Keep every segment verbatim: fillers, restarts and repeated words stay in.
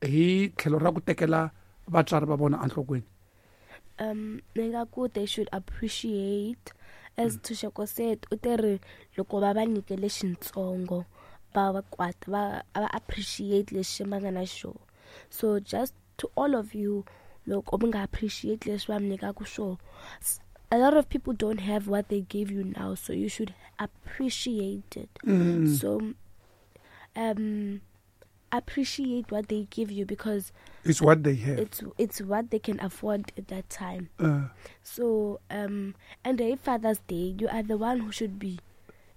hi tlhelo ra ku tekela vatswari va vona enhlokweni? Um ni nga ku they should appreciate, as mm. Ntshunxeko said, u teri loko va va nyike lexintsongo va va kwata va va appreciate lexi va nga na xona. So just to all of you, loko mi nga appreciate leswi va mi nyikaka swona, a lot of people don't have what they give you now, so you should appreciate it. Mm. So um appreciate what they give you, because it's what they have. It's it's what they can afford at that time. Uh. So um and a Father's Day, you are the one who should be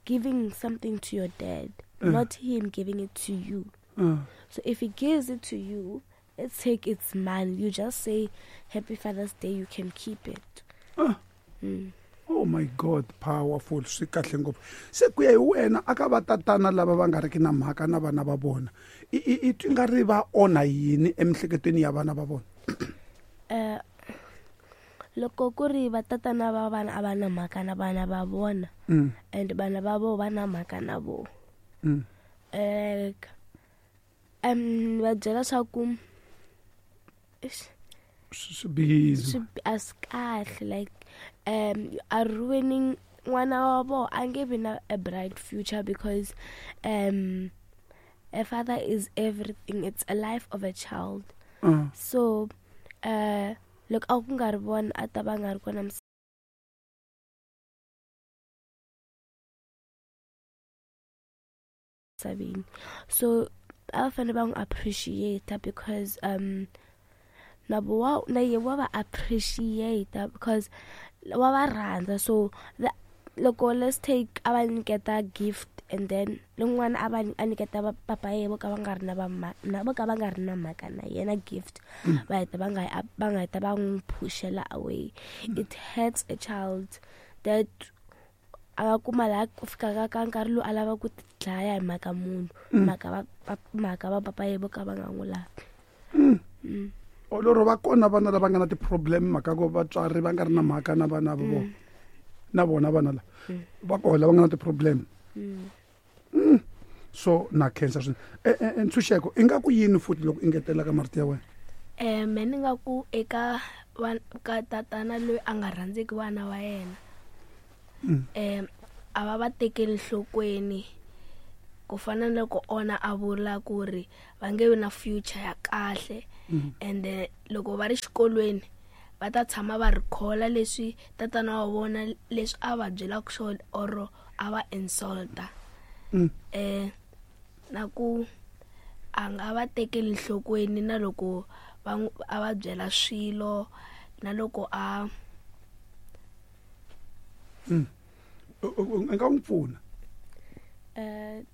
giving something to your dad, uh. not him giving it to you. Uh. So if he gives it to you, let's take its money. You just say Happy Father's Day, you can keep it. Uh. Mm. Oh my God, powerful. Swi kahle ngopfu. Se ku ya hi wena aka va tatana lava va nga riki na mhaka na vana va vona, i i twi nga ri va onha yini emiehleketweni ya vana va vona? Eh, loko ku ri va tatana va vana a va na mhaka na vana va vona, mm. and vana va vona va na mhaka na vona. Mm. Eh, um va byela swa ku swi bihile, a swi kahle, like um you are ruining n'wana wa vona, a nge vi na a bright future, because um a father is everything. It's a life of a child. Uh. So uh loko a ku nga ri vona a ta va nga ri kona misaveni. So a va fanele va n'wi appreciate, because um na bo na ye wa va appreciate, because wa va rhandza. So the, loko let's take a va nyiketa gift, and then lomwana a va a nyiketa va papa ye vo ka va nga ri na va na vo ka va nga ri na mhaka na yena gift, mm. va heta va nga va nga heta va n'wi pushela away. Mm. It hurts a child that a nga kuma laha ku fikaka ka nkarhi lowu a lava ku ti dlaya hi mhaka munhu, Mm. mhaka va mhaka va papa ye vo ka va nga n'wi lavi. Mm. Mm. Loro va kona vana lava nga na ti-problem mhaka ku vatswari va nga ri na mhaka na vana va vona, na vona vana lava va kona lava nga na ti-problem. Mm. Mm. So na khensa swinene. E Ntshunxeko, i nga ku yini futhi loko engetela ka marito ya wena? Eh, me ni nga ku eka ka tatana loyi a nga rhandzeki vana va yena, Mm. eh a va va tekeli nhlokweni, ku fana na loko ona a vula ku ri va nge vi na future ya kahle. Mm. And loko va ri xikolweni va ta tshama va recalla leswi tatana wa vona leswi a va byelaka swona or a va insulta. Mm. Eh na ku a nga va tekeli nhlokweni na loko va a va byela swilo na loko a Mm. U nga n'wi pfuna? Eh